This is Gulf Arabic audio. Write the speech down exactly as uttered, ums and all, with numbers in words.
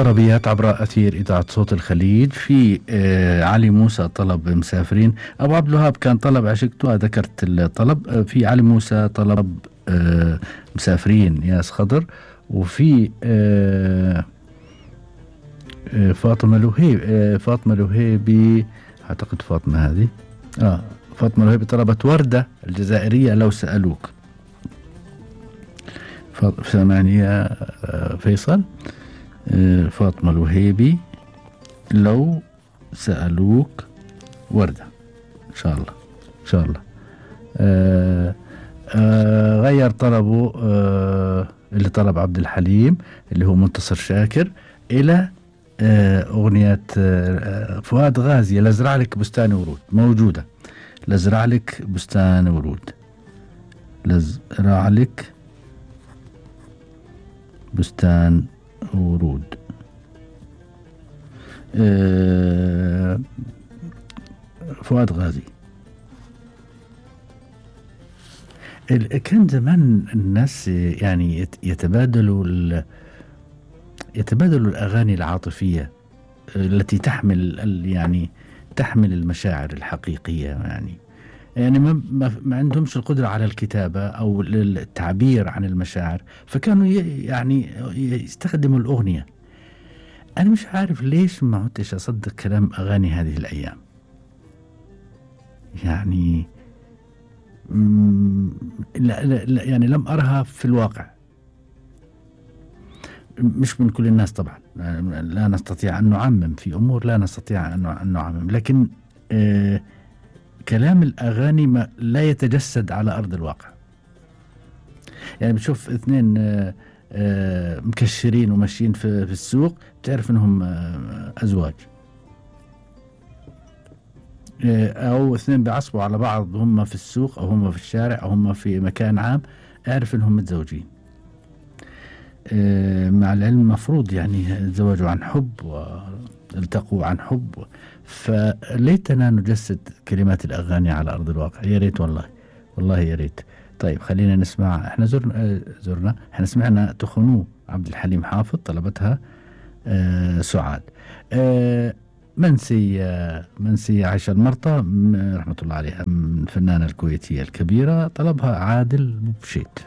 طلبيات عبر أثير إذاعة صوت الخليج. في آه علي موسى طلب مسافرين. أبو عبد الوهاب كان طلب عشقته، ذكرت الطلب. آه في علي موسى طلب آه مسافرين ياس خضر. وفي آه آه فاطمة الوهيب آه فاطمة الوهيبي، أعتقد فاطمة هذه آه فاطمة الوهيبي طلبت وردة الجزائرية لو سألوك. ثمانية آه فيصل. فاطمة الوهيبي لو سألوك وردة، إن شاء الله إن شاء الله. آآ آآ غير طلبه آه اللي طلب عبد الحليم اللي هو منتصر شاكر إلى أغنية فؤاد غازي لازرع لك بستان ورود. موجودة لازرع لك بستان ورود، لازرع لك بستان ورود. أه فؤاد غازي. كان زمان الناس يعني يتبادلوا يتبادلوا الأغاني العاطفية التي تحمل يعني تحمل المشاعر الحقيقية، يعني يعني ما, ما عندهمش القدرة على الكتابة أو التعبير عن المشاعر، فكانوا يعني يستخدموا الأغنية. أنا مش عارف ليش ما عدتش أصدق كلام أغاني هذه الأيام، يعني لا لا لا يعني لم أرها في الواقع. مش من كل الناس طبعا، لا نستطيع أن نعمم في أمور، لا نستطيع أن نعمم، لكن آه كلام الأغاني ما لا يتجسد على أرض الواقع. يعني بتشوف اثنين آآ آآ مكشرين وماشيين في, في السوق، بتعرف انهم أزواج. أو اثنين بيعصبوا على بعض هم في السوق أو هم في الشارع أو هم في مكان عام، اعرف انهم متزوجين. مع العلم مفروض يعني الزواج عن حب والتقوا عن حب، فليتنا نجسد كلمات الأغاني على أرض الواقع. يا ريت والله والله يا ريت. طيب خلينا نسمع. احنا زرنا زرنا احنا سمعنا تخنوه عبد الحليم حافظ، طلبتها آه سعاد. آه منسية منسية عائشة المرطى رحمة الله عليها، الفنانة الكويتية الكبيرة، طلبها عادل بوشيت.